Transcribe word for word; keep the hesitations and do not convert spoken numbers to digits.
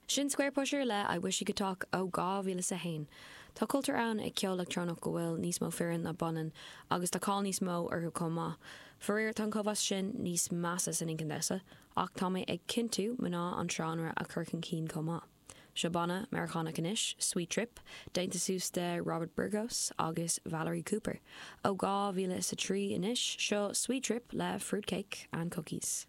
Sin Squarepusher le I Wish You Could Talk ó dhá mhíle a haon. Tá cultúr ann ag ceol leictreonach go bhfuil níos mó fireann ná baineann agus tá cáil níos mó orthu chomh maith. Faraor tá an cóimheas sin níos measa san inchinn damhsa, ach tá mé ag cinntiú mná an seánra a chur chun cinn chomh maith. Seo banna Meiriceánach anois, Sweet Trip, déanta suas de Robert Burgos agus Valerie Cooper. Ó dhá mhíle is a trí anois seo Sweet Trip le fruitcake and cookies.